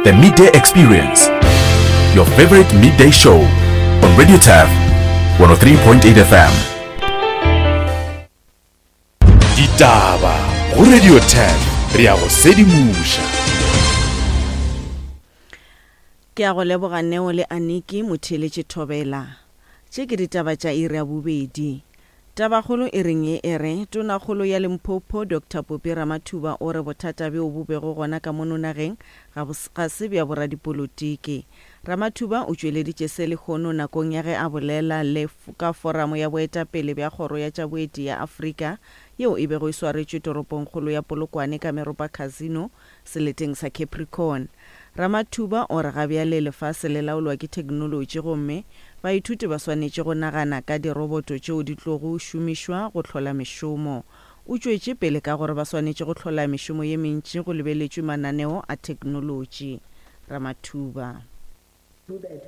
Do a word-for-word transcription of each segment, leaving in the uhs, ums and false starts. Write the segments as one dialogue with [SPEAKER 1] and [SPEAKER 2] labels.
[SPEAKER 1] The Midday Experience, your favorite midday show on Radio Turf one oh three point eight F M. Ditaba go Radio Turf, re ya go sedimoša.
[SPEAKER 2] Ke a go leboga Neo le Aniki motheeletše Thobela. Tše ke ditaba tša iri ya bobedi. Tabakgolo e reng ye e re, Tonakgolo ya Limpopo Doctor Phophi Ramathuba o re bothata bjo bo bego gona ka mono nageng ga bo, ga se bja boradipolotiki. Ramathuba o tšweleditše se lehono nakong ya ge a bolela le ka foramo ya boetapele bja kgoro ya tša boeti ya Afrika yeo e bego e swaretšwe toropongkgolo ya Polokwane ka Meropa Casino seleteng sa Capricorn. Ramathuba o re ga bjale lefase le laolwa ke theknolotši gomme baithuti ba swanetše go nagana ka diroboto tšeo di tlogo šomišwa go hlola mešomo. O tšwetše pele ka gore ba swanetše go hlola mešomo ye mentši go lebeletšwe mananeo a theknolotši. Ramathuba.
[SPEAKER 3] Do that.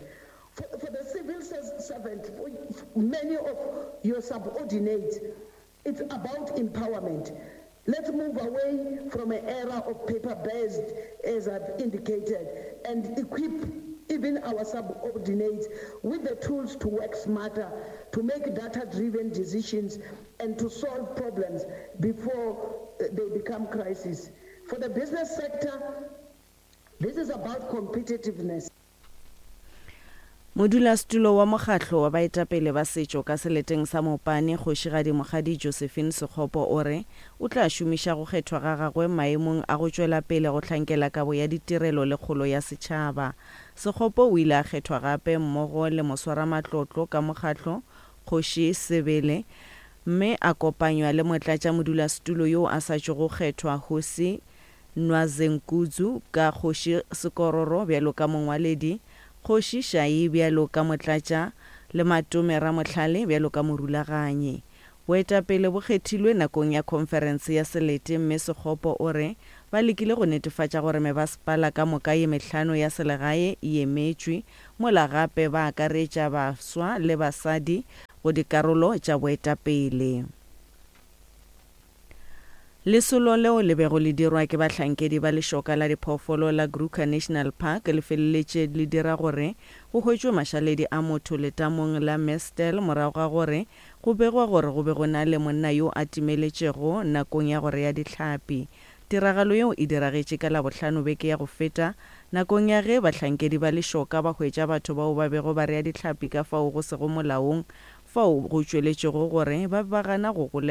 [SPEAKER 3] For, for the civil servant, for many of your subordinates, it's about empowerment. Let's move away from an era of paper-based, as I've indicated, and equip even our subordinates with the tools to work smarter, to make data-driven decisions, and to solve problems before they become crises. For the business sector, this is about competitiveness.
[SPEAKER 2] Modulasetulo wa mokgatlo wa baetapele ba setšo ka seleteng sa Mopane, Kgošigadi Mokgadi Josephine Sekgopo o re o tla šomiša go kgethwa ga gagwe maemong a go tšwela pele go hlankela kabo ya ditirelo le kgolo ya setšhaba. Sekgopo o ile a kgethwa gape mmogo le moswaramatlotlo ka mokgatlo Kgoši Sebele mme a kopanywa le motlatša modulasetulo yo a sa tšogo kgethwa Hosi Nwazenkudzu ka Kgoši Sekororo bjalo ka mongwaledi, Kgoši Shai bjalo ka motlatša le Matome Ramohlale bjalo ka morulaganyi. Boetapele bo kgethilwe nakong ya khonferense ya selete mme Sekgopo o re ba lekile go netefatša gore mebasepala ka moka ye mehlano ya selegae e emetšwe, mola gape ba akaretša baswa le basadi go dikarolo tša boetapele. Lesolo leo le bego le dirwa ke bahlankedi ba lešoka la diphoofolo la Kruger National Park le feleletše le dira gore go hwetšwe mašaledi a motho letamong la Mestel morago ga gore go begwa gore go be go na le monna yo a timeletšego nakong ya go rea dihlapi. Tiragalo yeo e diragetše ka Labohlano beke ya go feta nakong ya ge bahlankedi ba lešoka ba hwetša batho bao ba bego ba rea dihlapi ka fao go sego molaong fao go tšweletšego gore ba be ba gana go golegwa.